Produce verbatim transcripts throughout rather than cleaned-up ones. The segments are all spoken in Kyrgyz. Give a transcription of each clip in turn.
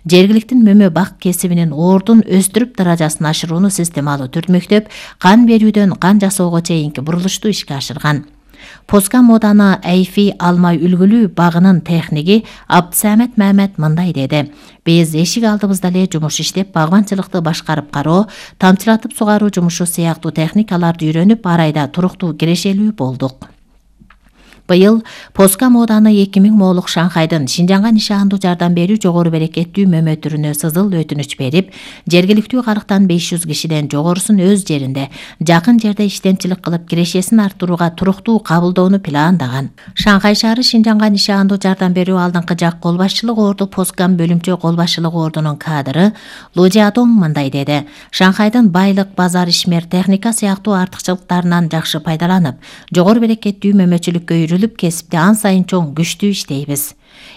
жергиликтин мөмө бак кесибинин ордун өстүрүп даражасын ашырууну системалуу түрдмөктөп, кан берүүдөн кан жасоого чейинки бурулушту ишке ашырган. Поскам ооданы Айфи Алмай үлгүлүү багынын техниги Абдсамет Мамет мындай деди: Биз эшик алдыбызда эле жумуш иштеп, багбанчылыкты башкарып кароо, тамчылатып сугаруу жумушу сыяктуу техникаларды үйрөнүп, арайда туруктуу кирешелүү болдук. Быйыл Поскам ооданы эки миң моолук Шанхайдын Шинжаңга нишандуу жардам берүү жогору берекеттүү мөмө түрүнө сызыл өтүнүч берип, жергиликтүү калктан беш жүз кишиден жогорусун өз жеринде, жакын жерде иштенчилик кылып, кирешесин арттырууга туруктуу кабылдоону пландаган. Шанхай шаары Шинжаңга нишандуу жардам берүү алдыңкы жак кол башчылык орду Поскам бөлүмчө кол башчылык ордунун кадры Лу Жиадong мындай деди: Шанхайдын байлык, базар, ишмер, техника сыяктуу артыкчылыктарынан жакшы пайдаланып, жогору берекеттүү мөмөчүлүккө кесипте ан сайын чоң күчтүү иштейбиз.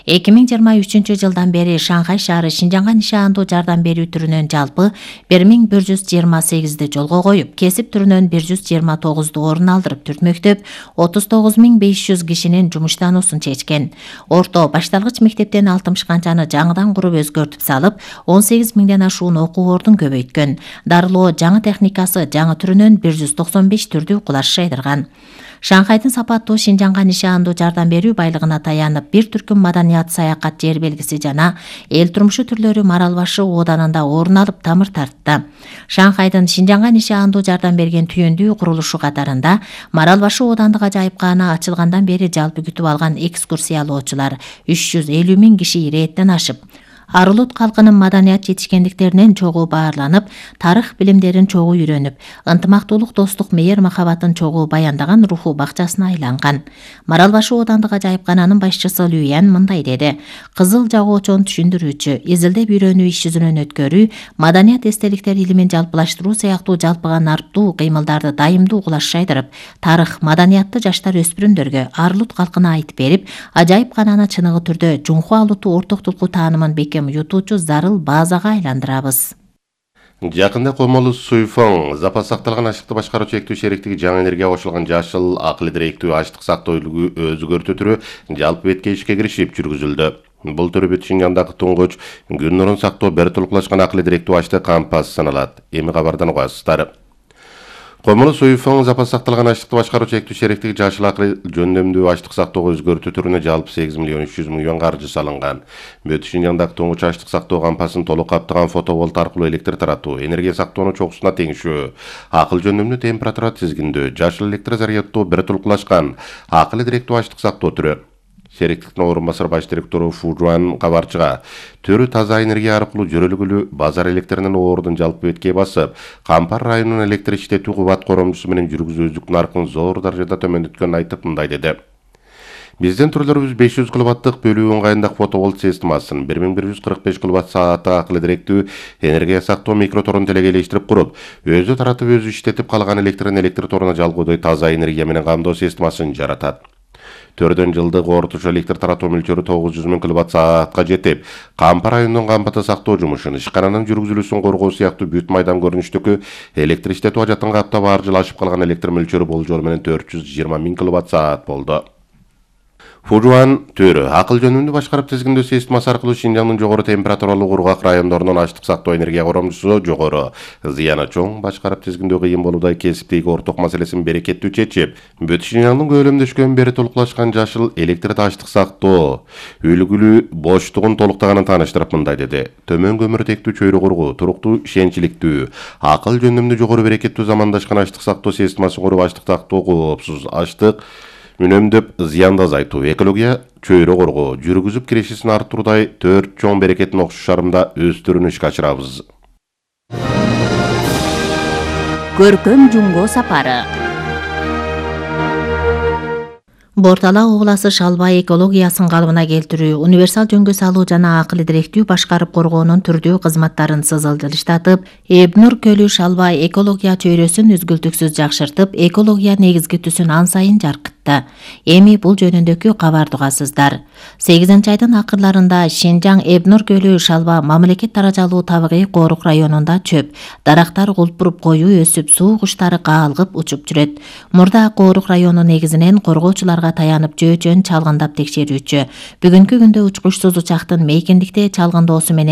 эки миң жыйырма үчүнчү жылдан бери Шанхай шаары Шинжаңга нишандуу жардам берүү түрүнөн жалпы бир миң бир жүз жыйырма сегизди жолго коюп, кесип түрүнөн бир жүз жыйырма тогузду орун алдырып түртмөктөп, отуз тогуз миң беш жүз кишинин жумуштануусун чечкен. Орто башталгыч мектептен алтымыш канчаны жаңыдан куруп өзгөртүп салып, он сегиз миңден ашуун окуу ордун көбөйткөн. Дарылоо жаңы техникасы жаңы түрүнөн бир жүз токсон беш түрдү кулаш жайдырган. Шанхайдын сапаттуу Шинжаңга нишандуу жардам берүү байлыгына таянып, бир түркүм маданият, саякат, жер белгиси жана эл турмушу түрлөрү Марал башы ооданында орун алып тамыр тартты. Шанхайдын Шинжаңга нишандуу жардам берген түйөндүү курулушу катарында Марал башы оодандык ажайып кааны ачылгандан бери жалпы күтүп алган экскурсиялоочулар үч жүз элүү миң киши ирээттен ашып, Арылут калкынын маданият жетишкендиктеринен чогуу баарланып, тарых билимдерин чогуу үйрөнүп, ынтымактуулук, достук, мейир махабатын чогуу баяндаган руху бакчасына айланган. Марал башы оодандык ажайыпкананын башчысы Люян мындай деди: Кызыл жагоочон түшүндүрүүчү, изилдеп үйрөнүү иш жүзүнөн өткөрүү, маданият эстеликтер илимин жалпылаштыруу сыяктуу жалпыга нарптуу кыймылдарды дайымдуу кулаш жайдырып, тарых, маданиятты жаштар өспүрүмдөргө, Арылут калкына айтып берип, ажайыпкананы чыныгы түрдө Жунхуа улуттуу ортоктулку таанымын бекем ютуучу зарыл базага айландырабыз. Жакында Комолу Суйфоң запас сакталган аштыкты башкаруу чектүү шериктиги жаңы энергияга кошулган жашыл акыл директүү аштык сактоо өзгөртүү түрү жалпы бетке ишке киришип жүргүзүлдү. Бул түрү бүт Шинжаңдагы туңгуч күн нурун сактоо бери толуклашкан акыл директүү аштык кампас саналат. Эми кабардан угасыздар. Комолу Суйфоң запас сакталган аштыкты башкаруу чектүү шериктиги жашыл акыл жөндөмдүү аштык сактоого өзгөртүү түрүнө жалпы сегиз миллион үч жүз миң юан каржы салынган. Бүт Шинжаңдагы туңгуч аштык сактоо кампасын толук каптаган фотоволт аркылуу электр таратуу, энергия сактоонун чогусуна теңишүү, акыл жөндөмдүү температура тизгиндөө, жашыл электр заряддоо бери толуклашкан акыл директүү аштык сактоо түрү. Шериктиктин орун басар баш директору Фу Жуан кабарчыга түрү таза энергия аркылуу жөрөлгүлүү базар электринин ордун жалпы бетке басып, Кампар районунун электр иштетүү кубат коромчусу менен жүргүзүүчүлүк наркын зор даражада төмөндөткөнүн айтып мындай деди: Биздин түрлөрүбүз беш жүз киловаттык бөлүү ыңгайындагы фотоволт системасын, бир миң бир жүз кырк беш киловатт сааттык акыл директүү энергия сактоо микроторун телегейлештирип куруп, өзү таратып өзү иштетип калган электрин электр торуна жалгоодой таза энергия менен камдоо системасын жаратат. Төрдөн жылдык орточо электр таратуу мөлчөрү тогуз жүз миң киловатт саатка жетип, Кампар районунун кампаты сактоо жумушун, ишкананын жүргүзүлүүсүн коргоо сыяктуу бүт майдан көрүнүштөгү электр иштетүү ажатын каптап ар жыл ашып калган электр мөлчөрү болжол менен төрт жүз жыйырма миң киловатт саат болду. Фужуан төрү акыл жөнүндө башкарып тизгиндөө системасы аркылуу Шинжаңдын жогору температуралуу кургак райондорунун аштык сактоо энергия коромчусу жогору, зыяны чоң башкарып тизгиндөө кыйын болуудай кесиптеги орток маселесин берекеттүү чечип, бүт Шинжаңдын көлөмдөшкөн бери толуклашкан жашыл электр аштык сактоо үлгүлүү боштугун толуктаганын тааныштырып мындай деди: Төмөн көмүртектүү чөйрө кургуу, туруктуу ишенчиликтүү, акыл жөнүндө жогору берекеттүү замандашкан аштык сактоо системасын куруп, аштык сактоо коопсуз аштык үнөмдөп зыянды азайтуу, экология чөйрө коргоо, жүргүзүп кирешесин арттыруудай төрт чоң берекеттин окшош шарымда өз түрүн ишке ашырабыз. Көркөм жумго сапары. Бортала обласы Шалбай экологиясын калыбына келтирүү, универсал жөнгө салуу жана акыл директүү башкарып коргоонун түрдүү кызматтарын сызылдырыштатып, Эбнур көлү Шалбай экология чөйрөсүн үзгүлтүксүз жакшыртып, экология негизги түсүн ан сайын жаркытты. Эми бул жөнүндөгү кабарды угасыздар. сегизинчи айдын акырларында Шинжаң Эбнур көлү Шалба мамлекет даражалуу табигый коорук районунда чөп, дарактар кулпуруп коюу өсүп, суу куштары каалгып учуп жүрөт. Мурда коорук району негизинен коргоочуларга таянып жөө-жөн чалгындап текшерүүчү. Бүгүнкү күндө учкучсуз учактын мейкиндикте чалгындоосу менен